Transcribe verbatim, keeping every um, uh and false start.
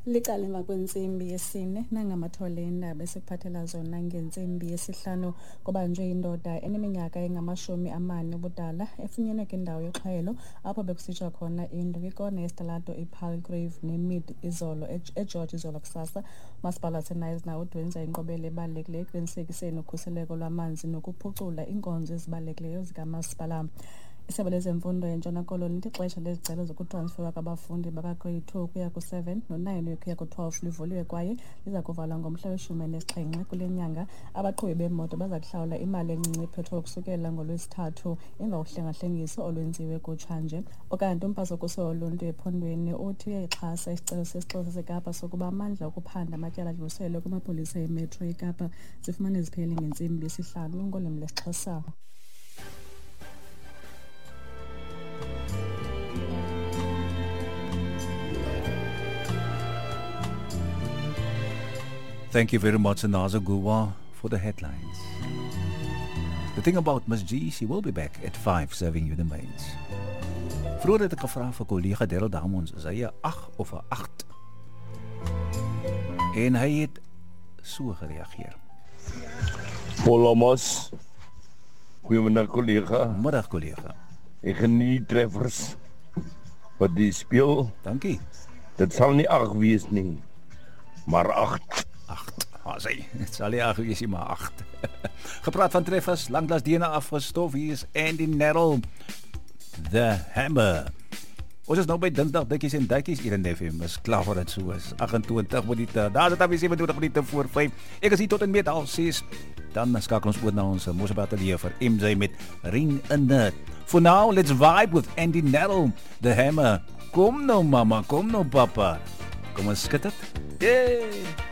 Licala emva kwentsimbi yesine nangamathole eendaba esikuphathela zona ngentsimbi yesihlanu. Kubanjwe indoda eneminyaka engamashumi amane ubudala efunyenwe kwindawo yoxhayelo apho bekusitsha khona indlu kwikona yesitalato iPalgrave neMid izolo eGeorge izolo kusasa. Umasipala waseKnysna udwenza inkqubela ebalulekileyo ekuqinisekiseni ukhuseleko lwamanzi nokuphucula iinkonzo ezibalulekileyo zikamasipala. Isebe lezemfundo eNtshona Koloni lithi ixesha lezicelo zokutransferwa kwabafundi bakaGrade two ukuya ku-seven no-nine ukuya ku-twelve livuliwe kwaye liza kuvalwa ngomhla weshumi elinesixhenxe kule nyanga. Abaqhubi beemoto baza kuhlawula imali encinci ipetroli ukusukela ngoLwesithathu emva kohlengahlengiso olwenziwe kutshanje. Ukanti umphathi woluntu ephondweni uthi uyayixhasa isicelo sesixeko saseKapa sokuba amandla okuphanda amatyala adluliselwe kumapolisa eMetro eKapa. Zifumane ziphele ngentsimbi yesihlanu ngolwimi lwesiXhosa. Thank you very much, Anaza Guwa, for the headlines. The thing about Miss G, she will be back at five serving you the mains. Vroeger het ek gevra vir kollega Daryl Damons, is hy 'n ag of 'n agt? En hy het so gereageer. Hola Mos. Goeiemiddag kollega. Middag kollega. Ek geniet die treffers wat die speel. Dankie. Dit sal nie ag wees nie, maar agt. Agt, ah, sê, het sal nie ag wees nie, maar agt. Gepraat van treffers, lanklaas D N A afgestof, hier is Andy Narell, The Hammer. Ons is nou by Dinsdag Dikkies en Dikkies, Eden F M is klaar voor dit so is. agt-en-twintig minute, daar is het alweer sewe-en-twintig minute voor vyf. Ek is hier tot en met half ses. Dan skakel ons oor na ons Mosselbaai Ateljee vir M J met Ring in the. For now, let's vibe with Andy Narell, The Hammer. Kom nou mama, kom nou papa. Kom ons skud dit. Yay!